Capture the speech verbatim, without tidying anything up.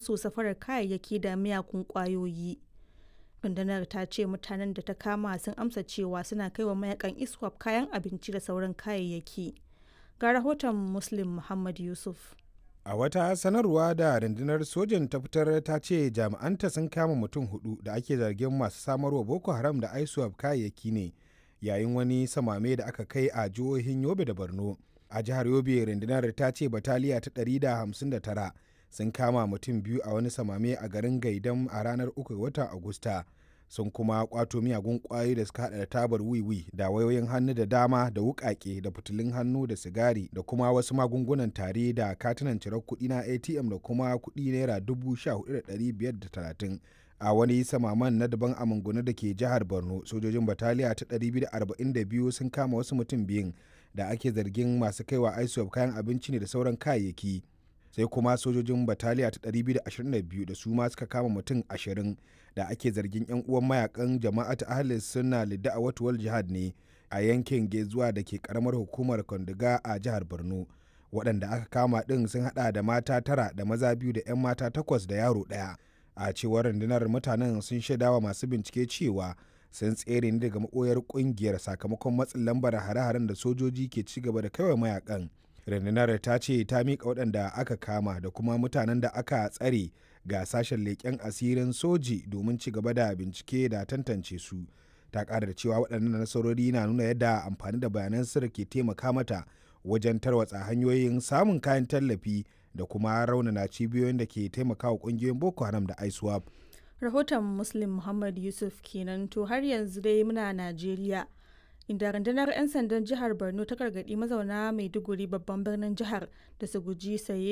masu safarar kayayyaki da miyagun ƙwayoyi. Rundunar ta ce mutanen da ta kama sun amsa cewa suna kaiwa mayakan ISWAP kayan abinci da sauran kayayyaki. Ga rahoton Muslim Muhammad Yusuf. A wata sanarwa da rundunar sojan ta fitar ta ce jami'anta sun kama mutum hudu da ake zargin masu samarwa Boko Haram da ISWAP kayayyaki ne yayin wani samame da aka kai a jihohin Yobe da Borno. A jihar Yobe rundunar ta ce bataliya ta ɗari da hamsin da tara sun kama mutum biyu a wani samame a garin Gaidam a ranar uku ga watan Agusta. Sun kuma kwato miyagun kwayoyi da suka hada da tabar wiwi da wayoyin hannu da dama da wukake da fitilun hannu da sigari da kuma wasu magungunan tare da katunan cirar kuɗi na A T M da kuma kuɗi naira dubu sha hudu da ɗari biyar da talatin. A wani samaman na daban a Mangunu da ke jihar Borno, sojojin bataliya ta ɗari biyu da arba'in da biyu sun kama wasu mutum biyun da ake zargin masu kaiwa ISWAP kayan abinci ne da sauran kayayyaki. Sai kuma sojojin bataliya ta ɗari biyu da ashirin da biyu da su ma suka kama mutum ashirin da ake zargin 'yan uwan mayakan Jama'at Ahlus Sunna Lidda'awat wal Jihad ne a yankin Gezuwa da ke karamar hukumar Konduga a jihar Borno. Waɗanda aka kama ɗin sun hada da mata tara da maza biyu da 'yan mata takwas da yaro ɗaya. A cewar rundunar, mutanen sun shaidawa masu bincike cewa sun tsere ne daga maɓoyar ƙungiyar sakamakon matsin lambar hare-haren da sojoji ke ci gaba da kaiwa mayakan. Rundunar ta ce ta miƙa waɗanda aka kama da kuma mutanen da aka tsare ga sashen leƙen asirin soji domin ci gaba da bincike da tantance su. Ta ƙara da cewa waɗannan nasarori na nuna yadda amfani da bayanan sirri ke taimaka mata wajen tarwatsa hanyoyin samun kayan tallafi da kuma raunana cibiyoyin da ke taimakawa ƙungiyoyin Boko Haram da ISWAP. Rahoton Muslim Muhammad Yusuf kenan. To, har yanzu dai muna Najeriya, inda rundunar 'yan sandan jihar Borno ta gargaɗi mazauna Maiduguri, babban birnin jihar, da su guji saye